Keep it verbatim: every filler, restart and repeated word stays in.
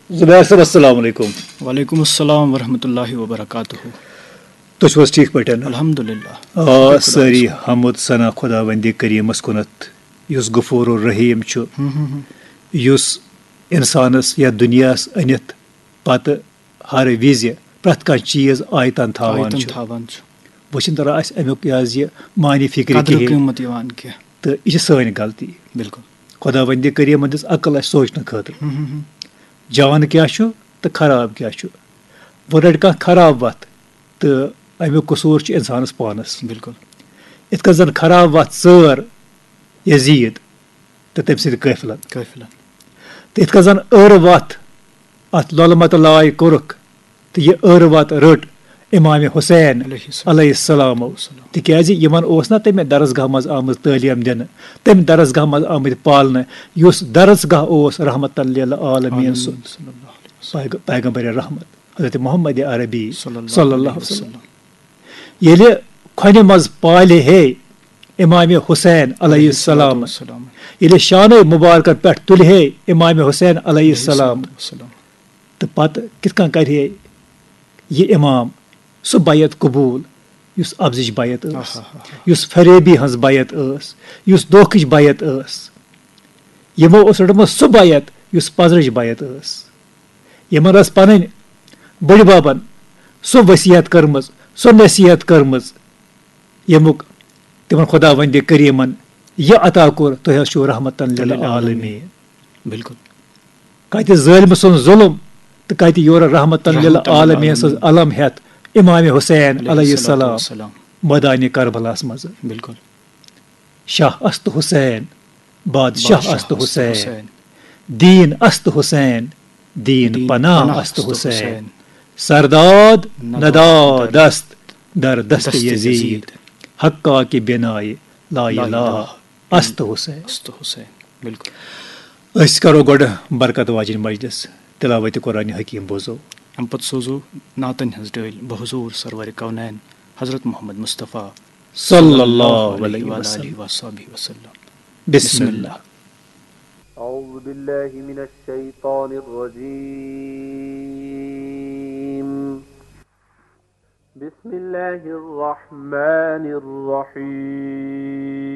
زبیر صٲب، السلام علیکم۔ وعلیکم السلام ورحمۃ اللہ وبرکاتہ۔ تُہۍ چھِو حظ ٹھیٖک پٲٹھۍ؟ الحمدللہ۔ آ، شُکُر خۄدایَس سٲری کُن۔ حمد ثنا خۄداوندِ کریٖمَس کُنَتھ، یُس غفور الرحیم چھُ، ہم، ہم، ہم۔ یُس اِنسانَس یا دُنیاہَس أنِتھ پَتہٕ ہر وِزِ پرٛٮ۪تھ کانٛہہ چیٖز آیتَن تھاوان آیتَن چھُ۔ تھاوان چھُ۔ وۄنۍ چھِنہٕ تَران اَسہِ اَمیُک، یہِ حظ، یہِ معنی فِکرِ قدرٕ کِہیٖنۍ۔ قۭمَتھ یِوان کینٛہہ۔ تہٕ یہِ چھِ سٲنۍ غلطی۔ بِلکُل۔ خۄداوندِ کریٖمَن دِژ عقل اَسہِ سونٛچنہٕ خٲطرٕ۔ ہم، ہم، ہم۔ جان کیٛاہ چھُ تہٕ خراب کیٛاہ چھُ۔ وۄنۍ رَٹہِ کانٛہہ خراب وَتھ تہٕ اَمیُک قصوٗر چھُ اِنسانَس پانَس۔ بِلکُل۔ یِتھ کٔنۍ زَن خراب وَتھ ژٲر یزیٖد تہٕ تٔمۍ سٕنٛدِ قٲفلَن۔ قٲفلَن۔ تہٕ یِتھ کٔنۍ زَن ٲرٕ وَتھ اَتھ لۄلہٕ مَتہٕ لاے کوٚرُکھ تہٕ یہِ ٲرٕ وَتھ رٔٹ اِمام حسین علیہ السلام۔ علیہ السلامو۔ السلام۔ تِکیٛازِ یِمَن اوس نہ تَمہِ درسگاہ منٛز آمٕژ تعلیٖم دِنہٕ، تَمہِ درسگاہ منٛز آمٕتۍ پالنہٕ، یُس درسگاہ اوس رحمتاً للعالمین سُنٛد۔ صلی اللہ علیہ وسلم۔ پیغ-، پیغمبر رحمت حضرت محمد عربی صلی اللہ صلی اللہ علیہ علیہ وسلم۔ وسلم۔ ییٚلہِ کھۄنہِ منٛز پالہِ ہے امام حسین علیہ السلام، السلام۔ ییٚلہِ شانَے مُبارکَن پٮ۪ٹھ تُلہِ ہے امام حسین علیہ السلام، السلام۔ تہٕ پَتہٕ کِتھ کٔنۍ کَرِ ہے یہِ امام سُہ بیعت قبوٗل یُس اَپزٕچ بیعت ٲس، آہا۔ یُس فریبی ہٕنٛز بیعت ٲس، یُس دھوکٕچ بیعت ٲس؟ یِمو اوس روٚٹمُت سُہ بیعت یُس پَزرٕچ بیعت ٲس۔ یِمن ٲس پنٕنۍ بٔڈۍ ببن سۄ وصیت کٔرمٕژ، سۄ نصیحت کٔرمٕژ، ییٚمیُک تِمن خۄداوندِ کریٖمن یہِ عطا کوٚر، تُہۍ حظ چھِو رحمتاً للعالمین۔ بِلکُل۔ کتہِ ظٲلمہٕ سُنٛد ظُلم تہٕ کتہِ یورٕ رحمتاً رحمتاً للعالمین سٕنٛز للعالمین۔ علم ہٮ۪تھ امام حسین علیہ علیہ الصلوۃ السلام والسلام۔ مٲدانِ کربلاہس منٛز۔ بِلکُل۔ شاہ است حسین، بادشاہ بادشاہ است است حسین، حسین۔ دین است حسین، دین دین پناہ پناہ است است حسین۔ حسین۔ سرداد نداد نداد است در دست دست یزید، یزید۔ حقا کی بنائے لا لا الہ الہ است حسین۔ است حسین۔ بِلکُل۔ أسۍ کرو گۄڈٕ برکت واجِنۍ مجلس، تلاوت قرآن حکیم بوزو۔ اَمہِ پتہٕ سوزو نعتن ہٕنٛز ڈٲلۍ بحضور سرور کونین حضرت محمد مصطفیٰ صلی اللہ علیہ وآلہ وسلم۔ وصحبہ وسلم۔ بسم اللہ۔ أعوذ بالله من الشيطان الرجيم. بسم الله الرحمن الرحيم.